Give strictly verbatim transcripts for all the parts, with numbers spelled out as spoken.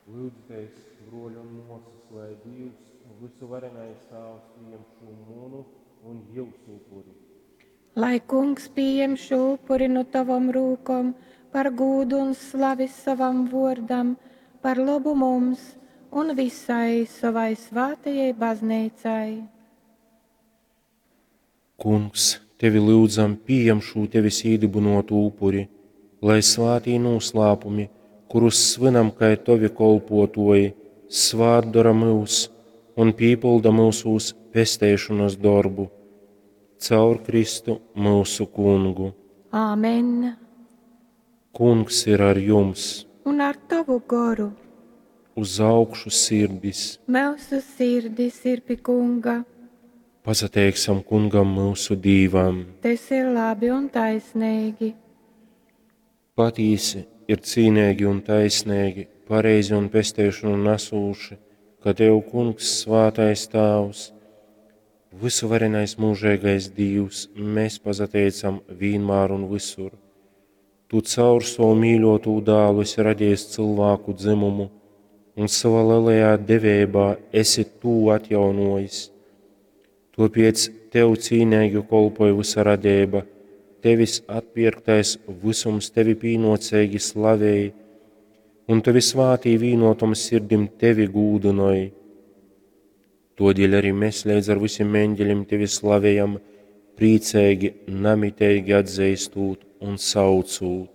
Lyudzitēs, bruoļi un muosys, lai Dīvs, vysuvarenais Tāvs, pījam šū munu un jiusu upuri. Lai Kungs pījem šū upuri nu tovom rūkom par gūdu un slavi sovam vuordam, par lobu mums un visai sovai svātajai bazneicai. Kungs, tevi lyudzam, pījam šū tevis īdybynuotū upuri, lai svātī nūslāpumi, kurus svynam kai tovi kolpuotuoji, svātdora myus un pīpylda myusūs pesteišonys dorbu. Caur Kristu myusu Kungu. Āmen. Kungs ir ar jums! Un ar tovu goru. Uz augšu sirdis! Myusu sirdis ir pi Kunga. Pasateiksim Kungam myusu Dīvam! Tas ir labi un taisnīgi. Patīsi ir cīneigi un taisneigi, pareizi un pesteišonu nasūši, ka tev, Kungs, svātais Tāvs, vysuvarenais mūžeigais Dīvs, mēs pasateicam vīnmār un visur. Tu caur savu mīļotū dālu esi radījis cilvēku dzimumu un savā lielajā deveibā esi tū atjaunojis. Tāpēc tev cīnīgi kolpoja visa radība, tevis atpirktais visums tevi pīnocīgi slavej, un tavi svātī vīnotom sirdim tevi gūdynoj. Todēļ arī mēs līdz ar visiem eņģeļiem tevi slavējam, priecīgi, namiteigi atzīstot un saucot.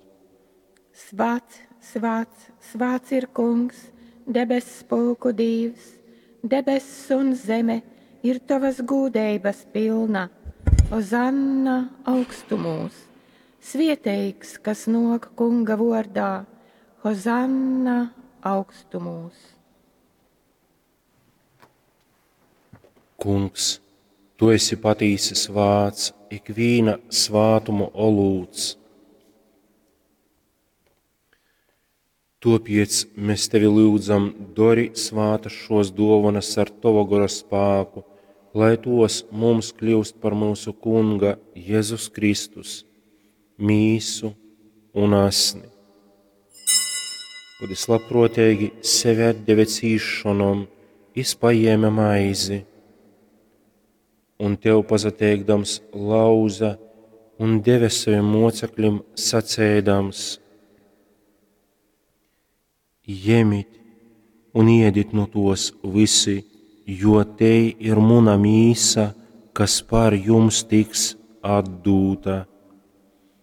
Svāts, svāts, svāts ir Kungs, debess pulku Dīvs, debess un zeme ir tavas gūdeibas pilna. Ozanna augstumūs, svieteigs, kas nok Kunga vordā, Hozanna augstumūs. Kungs, tu esi patīsi svāts, ikvīna svātuma olūts. Tāpēc mēs tevi lūdzam, dori svātas šos dovanas ar tava gora spēku, lai tos mums kļūst par mūsu Kunga Jēzus Kristus, mīsu un asni. Kad es labprātīgi sevi atdeve cīšanom, es paņēma maizi un tev pasateikdams lauza un deve saviem mocekļiem sacēdams: Jemit un iedit nu tos visi, jo te ir muna mīsa, kas par jums tiks atdūta.